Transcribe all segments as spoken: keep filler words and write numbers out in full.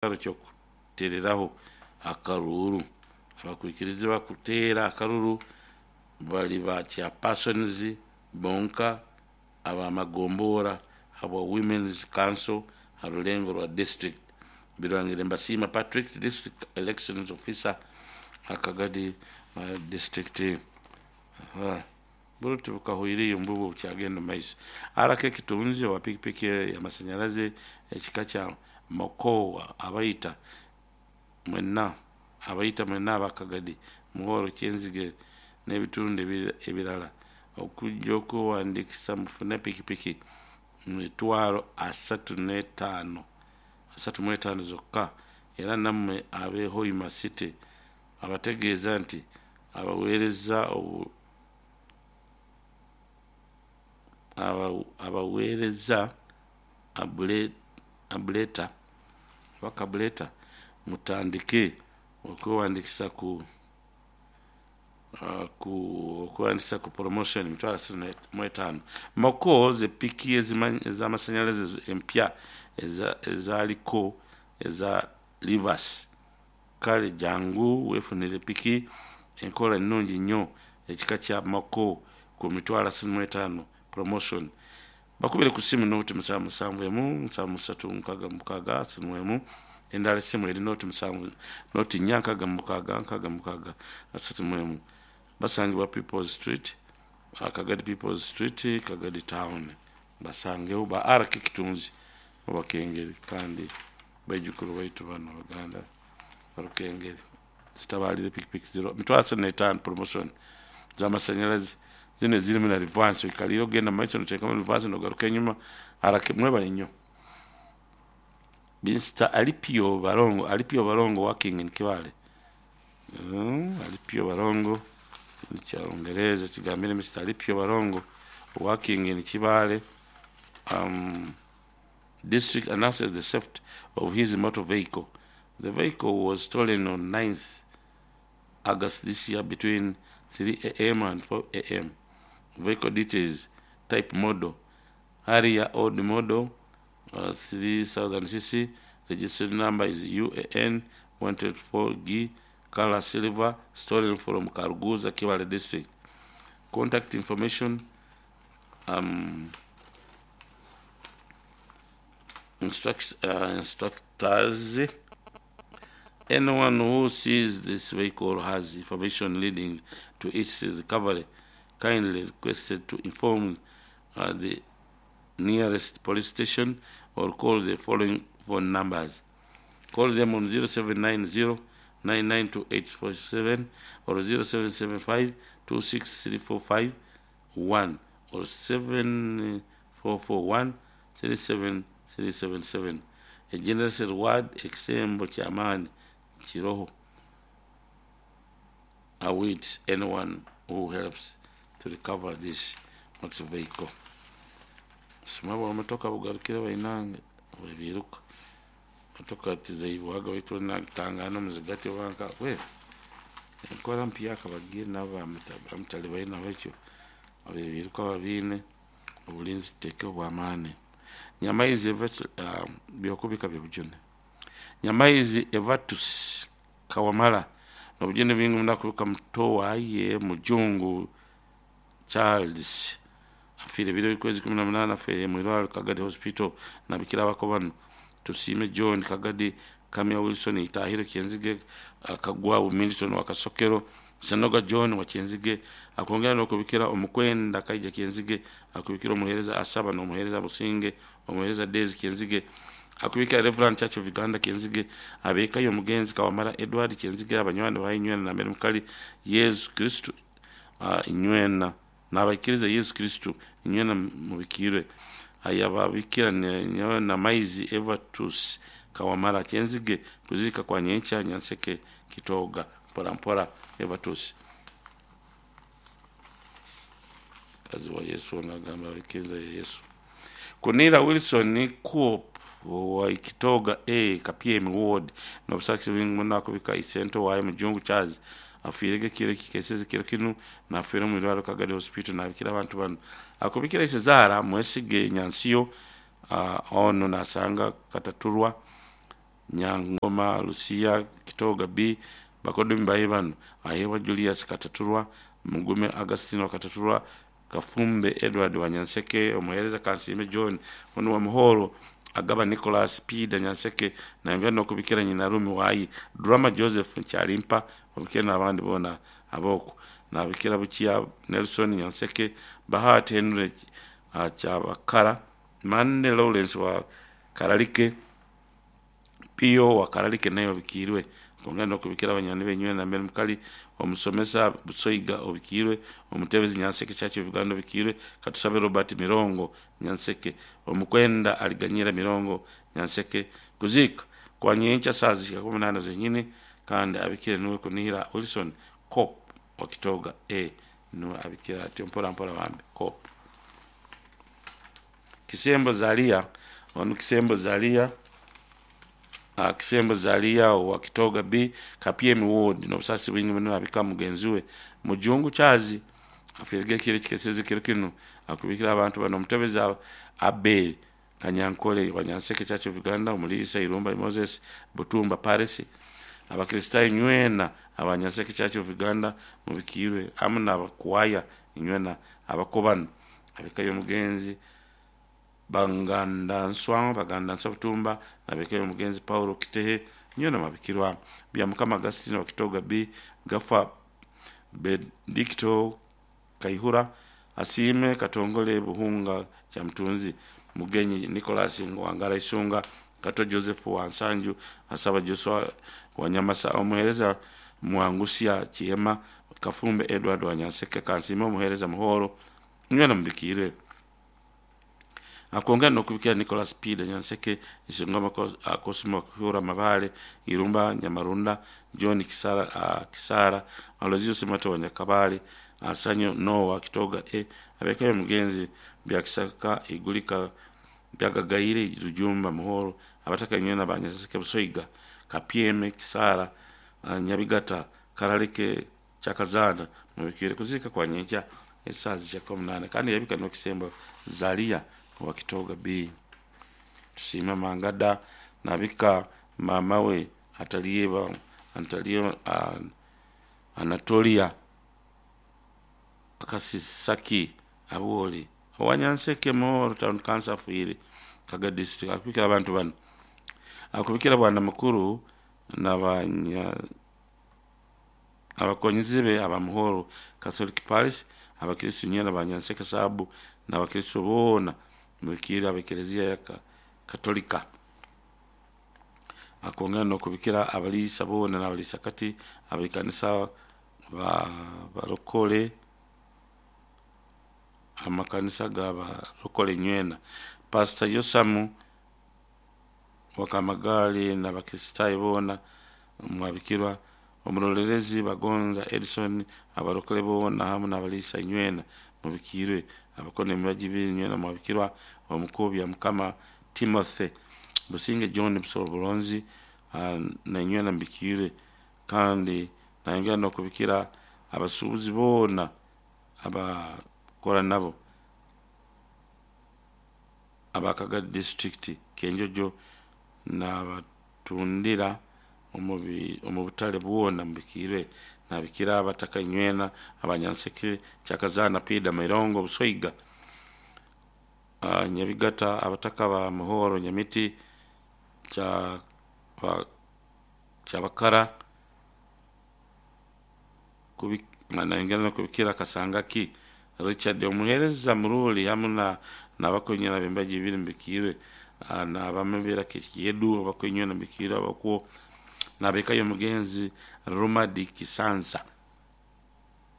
Kyokutereraho akaruuru abakwikiriza bakuteera akaruru bali ba chairpersons bonka abamagombora habwa Women's Council ha rulengo rwa district. Birwangire Mbasiima Patrick, District Elections Officer, Akagadi uh, District. uh, burutu bukahuiriyo mbubu bukyagenda maiso. Araka ekitunzi owa pikipiki y'amasanyalaze ekika kya mokowa abayita mwenna abayita mwenna abakagadi muhoro Kyenzige n'ebitundu ebirala okujja okwewandiikisa mufune pikipiki mitwalo asatu n'etaano asatu mu etaano zokka. Era nammwe ab'e Hoima City abategeeza nti abaweereza abaweereza abuleta oba kabuleta mutandike okwewandiikisa ku ku okwewandiikisa ku promotion mitwalo asatu mu etaano. Moko ze piki ez'amasanyalaze empya ezaaliko eza Livas. Kale jangu weefunire piki enkola ennungi nnyo ekika kya Moko ku mitwalo asatu mu etaano promotion. Bakubire ku ssimu nooti musanvu musanvu emu nsanvu musatu nkaaga mukaaga asatu mu emu. Endala essimu eri nooti musanvu nooti nnya nkaaga mukaaga nkaaga mukaaga asatu mu emu. Basangibwa People's Street, Kagadi People's Street, Kagadi Town. Basangeho ba R K Kitunzi Obakengeri kandi baijukuru baitu bano Baganda Barukengeri. Zitabalire pikipiki ziro mitwalo asatu n'etaano promotion z'amasanyalaze zino ezirimu na reverse, oikalire ogenda mumaiso noteekamu reverse nogaruka enyuma. R K mwebale nnyo. Mister Alipio Barongo, Alipio Barongo working in Kibaale. Mm, Alipio Barongo kyalungereza kigambire Mister Alipio Barongo working in Kibaale um, district announces the theft of his motor vehicle. The vehicle was stolen on ninth August this year between three A M and four A M. Vehicle details: type model, Harrier old model, uh, three thousand C C, registered number is U A N one two four G, color silver, stolen from Karuguza, Kibaale district. Contact information, um, instruct, uh, instructors. Anyone who sees this vehicle has information leading to its recovery, kindly requested to inform uh, the nearest police station or call the following phone numbers. Call them on zero seven nine zero nine nine two eight four seven or zero seven seven five two six three four five one or seven four four one three seven three seven seven. A generous reward ekisembo ky'amaanyi kiroho awaits anyone who helps to recover this motor vehicle. Sima bwa motoka bugarukire bainange webiruka motoka tizaibwaga baitu natangana muzigati wanka we enkora mpyaka bagire nabo bamutali baina ekyo abebiruka babiine obulinzi tuteeke obw'amaani. Nyamaizi uh, byokubika byobujune. Nyamaizi Evatus Kawamala nobujune bingi munakubika muto waye Mujungu Charles afiire biro kwezi kumi na munana afiire mwirwaro Kagadi Hospital. Nabikira abako bano Tusiime John Kagadi, Kamya Wilson Itahiro Kyenzige, Kagwa Milton wa Kasokero, Senoga John wa Kyenzige. Akongera n'okubikira omukwenda Kaija Kyenzige, akubikira omuheereza Asaba n'omuheereza Businge, omuheereza Daisy Kyenzige, akubikira Reverend Church of Uganda Kyenzige, abeekayo omugenzi Kawamala Edward Kyenzige, abanywani ba Inywena na Mary Mukali Yesu Kristo uh, Inywena n'abaikiriza Yesu Kristo Inywena mubikirwe. Ayababikira na Maizi Evatus Kawamala Kyenzige, kuzika kwa nyencha Nyanseke Kitoga mpora mpora Evatus. Kazi wa Yesu nagamba abikiriza Yesu. Kunira Wilson Coop wa Kitoga A Kapyemi Ward nobusakisi bingi nakubika isento waye Mujungu Charles afiirege kiro kikeseze kiro kinu nafiire mu irwaro Kagadi Hospital. Nabikira abantu bano akubikira Isezara Mwesige Nyansiyo uh, ono nasanga Kataturwa Nyangoma Lucia Kitoga B bakodomi baye bano Ahewa Julius Kataturwa Mugume Agustino Kataturwa Kafumbe Edward Wanyanseke omuhereza Kansime John ono wa Muhoro Agaba Nicholas Pida Nyanseke nayongera nokubikira nyina Rumi Wayi Drama Joseph Nchalimpa obikira n'abandi bona aboko nabikira Bukiya Nelson Nyanseke Bahati Henry uh, Chabakara Mande Lawrence wa Karalike Pio wa Karalike naye obikirwe kongera nokubikira abanyani benywe na mbere mukali omusomesa Busoiga obikirwe omutebezi Nyanseke Church of Uganda obikirwe Katusabe Robert Mirongo Nyanseke omukwenda aliganyira Mirongo Nyanseke kuzika kwa nyencha saa zishika kumi nane zenyine kandi abikire niwe kunihira Wilson Cop wa Kitoga A niwe abikira atyo mpora mpora bambe Cop Kisembo Zalia onu Kisembo Zalia uh, Kisembo Zalia wa Kitoga B Kapyemi Ward n'obusasi bwingi muno abika mugenzi we Mujungu Chazi afirige kire kikeseze kiro kino akubikira abantu bano omutebezi Abel Kanyankole wa Nyanseke Church of Uganda omulisa Irumba Moses Butumba Paris abakristayo nywena abanyanseke Church of Uganda mubikirwe amu n'abakwaya nywena abakobano abikayo omugenzi Banganda Nswanga Baganda Nswa Butumba nabekayo omugenzi Paulo Kitehe nywena mabikirwa bya Mukama Agustino wa Kitoga B Gafa Benedicto Kaihura Asime Katongole Buhunga cha Mtunzi Mugenyi Nicholas Ngwangara Isunga Kato Joseph wa Nsanju Asaba Joshua Wanyamasa omuhereza Mwangusia Chiema Kafumbe Edward Wanyanseke Kansime omuhereza Muhoro nywena mubikire akongera nokubikira Nicholas Pida Nyanseke Isingoma Cosmo Kuhura Mabale Irumba Nyamarunda John Kisara uh, Kisara Alozio Simato wa Nyakabale Asanyo Noah Kitoga e abekayo mugenzi byakisaka igulika byagagaire Rujumba Muhoro abataka nywena banyaseke Busoiga Kapyeme Kisara uh, Nyabigata Karalike Chakazana mubikire kuzika kwa nyenja esazi cha kumi na nane kandi yabika no Kisembo Zalia wa Kitoga B Tusima Mangada nabika mamawe atalieba antalio uh, Anatolia Akasisaki Abuoli Owanyanseke Muhoro Town Council afuire Kaga District akubikira abantu bano akubikira bwana mukuru n'abanya abakonyizi be abamuhoro Catholic Parish abakristu nyena banyanseke sabu n'abakristu bona mubikira abekelezia ya Katolika akongera nokubikira abalisa bona n'abalisa kati abekanisa ba barokole amakanisa ga barokole nywena Pastor Yosamu wakamagali n'abakristayo bona mwabikirwa omurorerezi Bagonza Edison abarokole bona hamu n'abalisa nywena mubikirwe abakone emibaji nywena mwabikirwa omukubya Mukama Timothy Businge John Busoro Bulonzi uh, na nywena mbikirwe kandi nayongera nokubikira abasuubuzi bona abakora nabo abakaga district Kenjojo n'abatundira omu butale bwona mubikirwe nabikira abataka nywena abanyanseke Chakazana Pida Mirongo Busoiga uh, Nyabigata abataka ba Muhoro Nyamiti cha ba, Chabakara nayongera kubikira Kasangaki Richard omuhereza Muruli hamu na n'abakonyera bembaji bibiri mbikirwe uh, n'abamebera Kiyedu abakonywena mbikirwe abakuo nabekayo mugenzi Rumadi Kisansa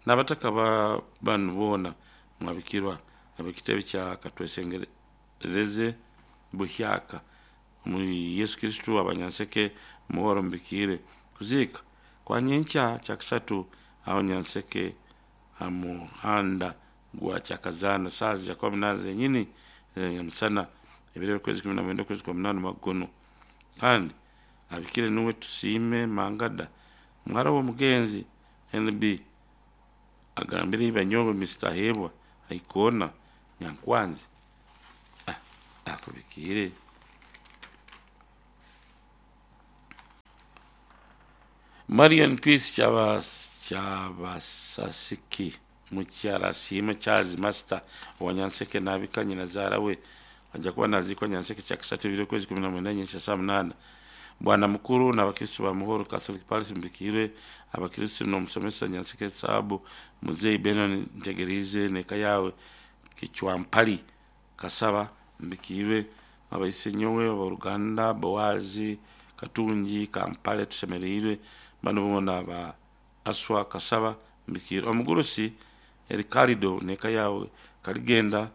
n'abataka ba banu bona mwabikirwa abekitebe kya Katwesengereze Buhyaka mu Yesu Kristu abanyanseke Muhoro mbikire kuzika kwa nyencha cha kisatu aho Nyanseke hamuhanda gwa Chakazana sazi ya kumi na zenyini ya msana ebire kwezi kumi na mwenda kwezi kwa munane magono kandi abikire nuwe Tusime Mangada mwara wo mugenzi N B agambire ibanyobo Mister Hebwa aikona Nyankwanzi ah, akubikire Marion Peace Kyaba Kyabasasiki mukyala Asiime Charles Master owa Nyanseke nabika nyina zaara we ajja kuba nazikwa Nyanseke kyakisatu ebiro kwezi kumi na mwenda nyenkya saa munaana. Bwana mukuru n'abakristu ba Muhoro Catholic Parish mbikirwe abakristu n'omusomesa Nyanseke Saabu Muzeyi Benon Ntegerize neka yawe Kichwampali Kasaba mbikirwe abaise nyowe aboruganda Boazi Katungi Kampale tushemereirwe bano bona ba Aswa Kasaba mbikirwe omugurusi Erikarido neka yawe Kaligenda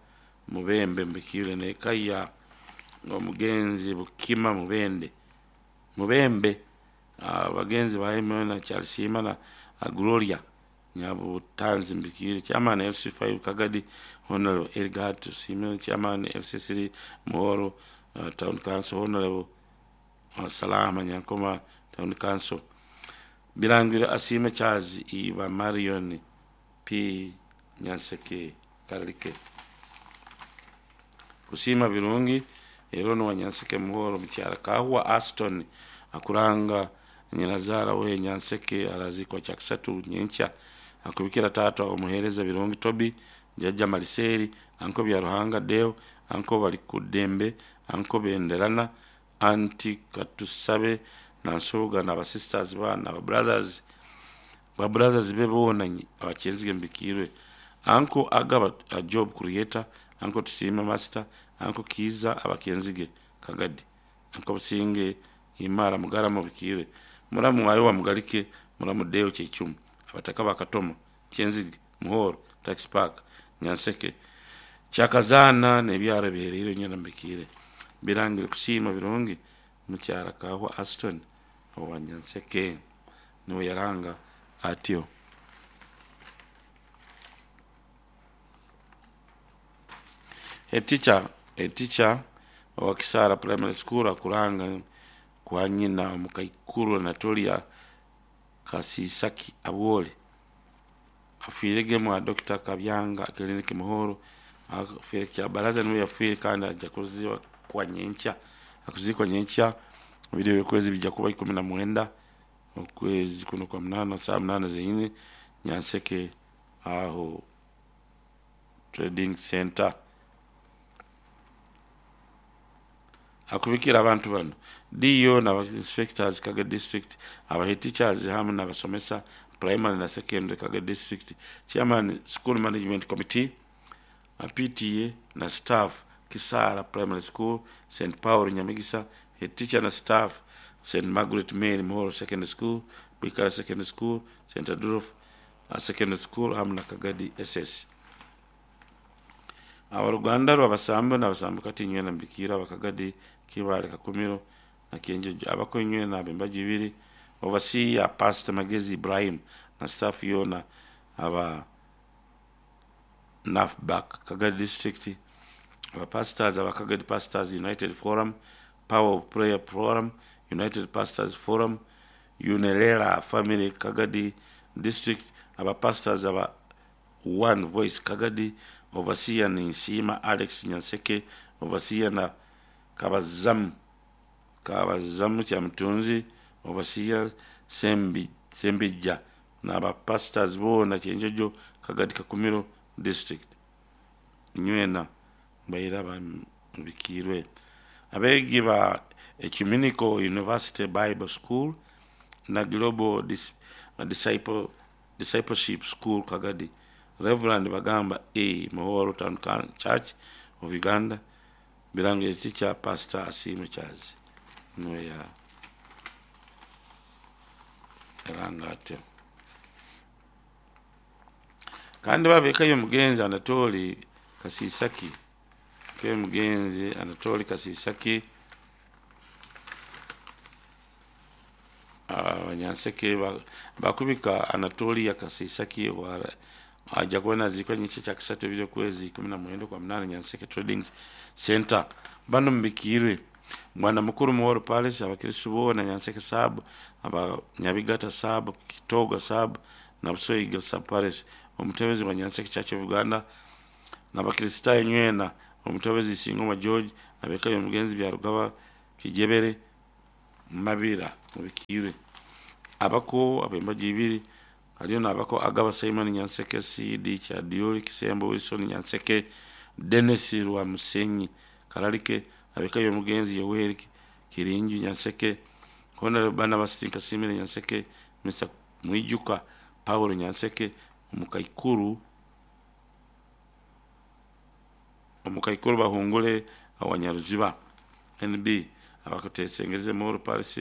Mubembe mbikirwe neka ya omugenzi Bukima Mubende Mubembe abagenzi ba na Charles na Gloria Nyabutanzi mbikirwe chairman L C five Kagadi Honorable Elgat Simon chairman L C three Muhoro uh, Town Council Honorable uh, Salama Nyankoma Town Council Birangira Asime Charles Iba Marion P Nyanseke Karike Kusima Birungi Erono wa Nyanseke Muhoro mkyara Kahwa Aston akuranga nyinazara we Nyanseke arazikwa kyakisatu nyenkya akubikira tata omuhereza Birungi Tobi Jajja Maliseri anko bya Ruhanga Deo anko bali kudembe anko benderana anti katusabe nansoga na sisters ba na brothers ba brothers be bona abakenzige mbikirwe anko agaba a job creator anko tusime master anko kiza abakenzige Kagadi anko businge imara mugaramo bikirwe muramu wayo wa mugalike muramu Deo Chechumu abataka bakatoma Kyenzige Muhoro Tax Park Nyanseke Kyakazana nebyaro biherero nyana mbikire birangire kusima Birungi mukyara Kahwa Aston owa Nyanseke niwe yaranga atyo. A teacher a teacher wa Kisara Primary School akuranga kwa nyina omukaikuru Anatolia Kasisaki Abwole afiirege mwa Doctor Kabyanga Clinic Muhoro afiire kya baraza niwe yafiire kandi ajja kuziwa kwa nyenkya akuzikwa nyenkya biri kwezi bijja kuba ikumi na mwenda okwezi kuno kwa munana saa munana zenyine Nyanseke aho trading center. Akubikira abantu bano D O na inspectors Kaga district aba teachers hamwe n'abasomesa primary na secondary Kaga district chairman school management committee P T A na staff Kisara Primary School Saint Paul Nyamigisa head teacher na staff Saint Margaret Mary Muhoro Secondary School Bikara Secondary School Saint Adolf Secondary School hamwe na Kagadi S S. Abaruganda rw'abasambo n'abasambo kati nywe na mbikira bakagadi kibale kakumiro na kenje abako nywe na bembaji bibiri overseer Pastor Magezi Ibrahim na staff yona aba Nafback Kagadi district aba pastors aba Kagadi Pastors United Forum Power of Prayer Forum United Pastors Forum Unelela Family Kagadi district aba pastors aba One Voice Kagadi overseer ni Nsima Alex Nyanseke overseer na Kabazamu Kabazamu cha mtunzi overseer Sembi Sembija na ba pastors bona Chenjojo Kagadi Kakumiro district nywena bayira bikirwe abegi ba Ecumenical University Bible School na Global Dis, Disciple Discipleship School Kagadi Reverend Bagamba A Muhoro Town Church of Uganda Birange teacher Pastor Asime Charles niwe ya erangate kandi babekayo mugenzi Anatoli Kasisaki ke mugenzi Anatoli Kasisaki Abanyanseke bakubika Anatolia Kasisaki wa aja kuona zikwa nyiche cha kisatu byo kwezi kumi na mwenda kwa mnane Nyanseke Trading Center bano mbikirwe mwana mukuru Muhoro Palace abakristo bona Nyanseke sub aba Nyabigata sub Kitoga sub na Busoiga sub Palace omutebezi wa Nyanseke Church of Uganda na bakristo nywena omutebezi Singoma George abekayo mugenzi bya Rugaba Kijebere Mabira mubikirwe. Abako abembaji ibiri haliyo nabako Agaba Simon Nyanseke, C D Kyadioli Kisembo, Wilson Nyanseke, Dennis Rwa Musenyi Karalike, abekayo omugenzi Yoweri Kirinju Nyanseke, Honorable Barnabas Tinkasimire Nyanseke, Mister Mwijuka Paulo Nyanseke, omukaikuru omukaikuru Bahungule Awanyaruziba N B, abakutesengeze Moro Paris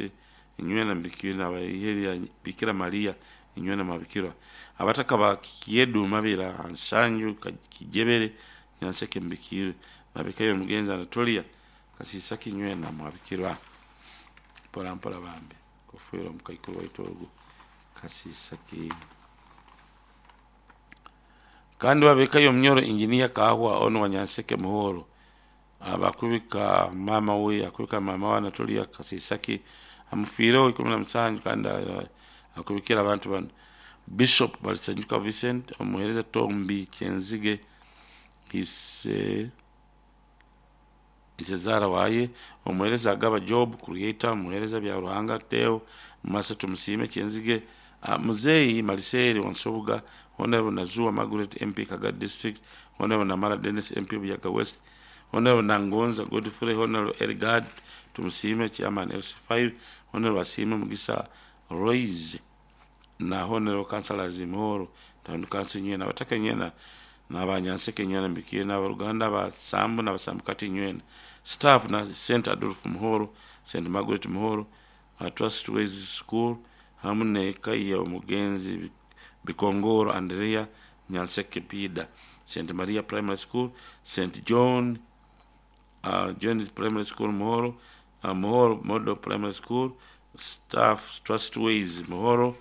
inywena mbikira abaiheri Bikira Maria inywena mabikira abataka ba Kiedu Mabira Ansanju Kijebere Nyanseke mbikire nabikayo omugenzi Anatolia Kasisaki inywena mwabikirwa. Mpola mpola bambi kufiira omukaikuru waitu ogu Kasisaki. Kandi babikayo omunyoro Engineer Kahwa ono wa Nyanseke Muhoro, abakubika mama we, akubika mama wa Anatolia Kasisaki amufiireho ikumi na musanju. Kandi akubikira abantu bano: Bishop Balisanjuka Vincent, omuhereza Tombi Kyenzige ise Isezara waye, omuhereza Agaba Job Creator, omuhereza Bya Ruhanga Teo Masa Tumusime Kyenzige, uh, Muzeyi Maliseri Wansobuga, Honorable Nazua Margaret M P Kagadi District, Honorable Namara Dennis M P Buyaga West, Honorable Nangonza Godfrey, Honorable Ergad Tumusime Chairman L C five, Honorable Asime Mugisa Roise na Honorable Councillors Muhoro Town Council nywena abataka nywena n'abanyanseke nywena mbikiye n'abaruganda abasambu n'abasambukati nywena staff na Saint Adolf Muhoro, Saint Margaret Muhoro, uh, Trust Ways School hamu n'eka ya omugenzi Bikongoro Andrea Nyanseke Pida, Saint Maria Primary School, Saint John uh, John Primary School Muhoro, uh, Muhoro Model Primary School, staff Trust Ways Muhoro,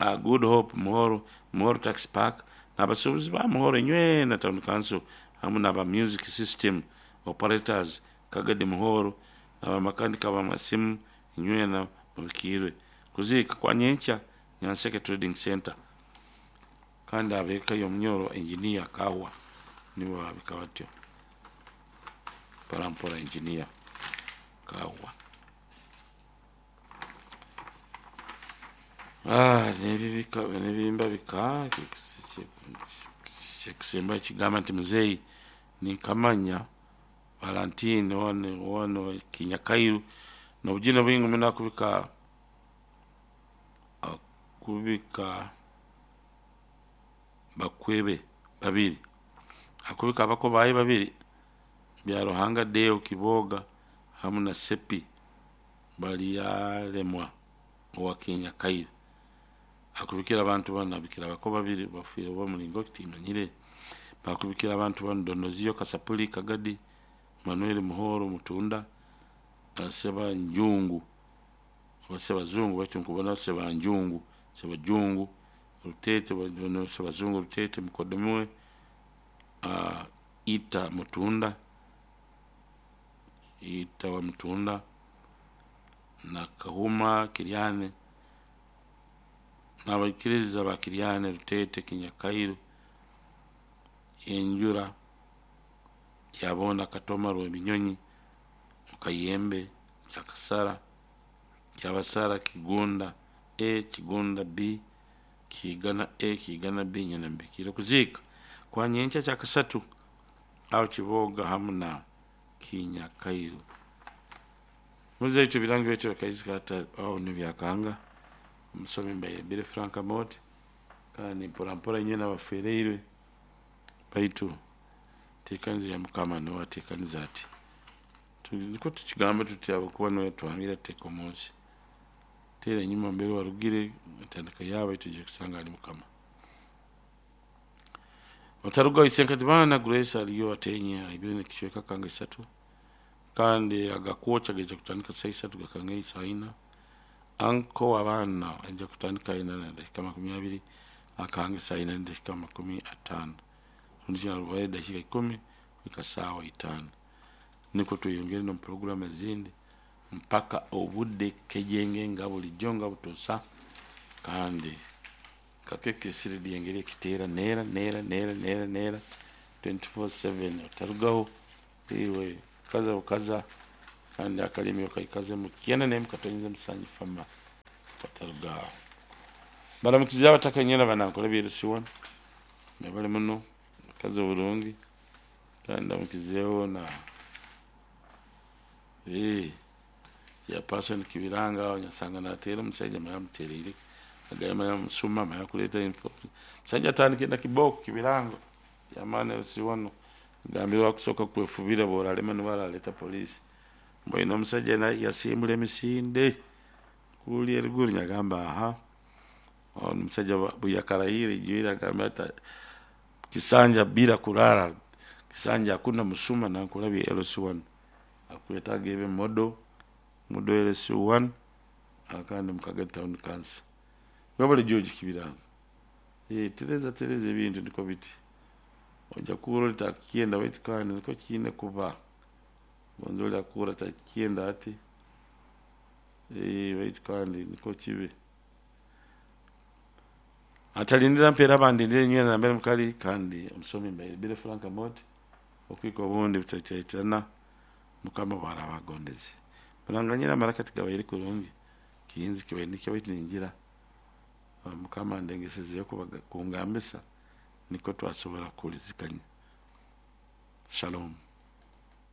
uh, Good Hope Muhoro, Muhoro Tax Park n'abasuubuzi ba Muhoro nywena Town Council hamu n'aba music system operators Kagadi Muhoro n'abamakanika b'amasimu nywena mubikiirwe. Kuziika kwa nyenkya Nyanseke Trading Center. Kandi abeka y'omunyoro Engineer Kawa nibo babika batyo mpora Engineer Kawa. Ah, nebibika nebimba bika kyekusemba kigamba nti muzeeyi ninkamanya Valentine wano wano Kinyakairu nobugine bwingi muno akubika akubika bakwebe babiri, akubika abako baye babiri Bya Ruhanga Deo Kiboga hamu na Sepi Balyalemwa owa Kinyakairu. Akubikira abantu bano, abikira abako babiri bafiire oba mulingo timanyire. Bakubikira abantu bano: Donoziyo Kasapuli Kagadi, Manuel Muhoro Mutunda, Seba Njungu oba Sebazungu, baitu nkubona Sebanjungu, Sebajungu Rutete, Sebazungu Rutete mukodomiwe, uh, Ita Mutunda, Ita wa Mutunda na Kahuma Kiryane n'abaikiriza ba Kiryane Rutete Kinyakairu Enjura Kyabona Katoma Rwebinyonyi Mukayembe Kyakasara Kyabasara Kigunda A Kigunda B Kigana A Kigana B nyina mbikire. Kuziika kwa nyenkya kyakasatu aho Kiboga hamu na Kinyakairu. Muzeitu birangi betu bakaizika hata aho nibyakanga omusomi mbaire Billy Frank Amot. Kandi mpora mpora nyina bafereirwe, baitu tekaniza ya Mukama niwe atekaniza ati niko tukigamba tuti abakuba niwe twambira teka omunsi teera enyuma mbere warugire entandika yaabo tujye kusanga ali Mukama otaruga isenkati bana Grace aliyo atenye ibiri nekicweka kanga isatu. Kandi agakwoca geja kutandika saa isatu gakanga isaa ina. Anko abaana ajja kutandika ina na dakika makumi abiri, akanga saa ina na dakika makumi atano, rundi arubaye dakika ikumi kuhika saawa itaano. Niko tweyongere nomu puroguramu ezindi mpaka obudde kejenge nga bulijjo nga butosa. Kandi kakekisiridi engeri ekiteera neera neera neera neera neera twenty-four seven otarugaho iwe kaza bukaza. Kandi akalimi okaikaze mu kyenda nemu katonyeze musanju fama. Batarugaho baramukiza abataka nyina banankora byerusiwana bali muno mukazi oburungi kandi ndamukizeho na eh ya person kibiranga nyasanga natera omusajja maya mutereire agamba maya musuma maya kuleta info musajja atandike na kiboko kibiranga yamana siwano gambira wakusoka kwefubira boralema nibaraleta polisi mbwine omusajja yasimbula emisinde kuli eriguru nyagamba aha omusajja buyakaraire ijwire agamba ati kisanja bila kurara kisanja hakuna musuma nankulabye L C one akwetaga ebe modo modo L C one akandi mukagadi town council wabale George Kibiranga eh tereza tereza ebintu niko biti ojja kuura takienda baitu kandi niko kiine kuba gonza oli akuura takienda ati eh baitu kandi niko kibe atalindira mpeera bandindire nywena nambere mukali kandi omusomi mbaire bire Frank Mot okwika obundi butaitaitirana mukama bwarabagondeze muranganyira amarakati gabaire kurungi kiyinzi kibaire nikyo baitu ningira mukama ndengesezeyo kungambisa niko twasobora kuhulizikanya. Shalom.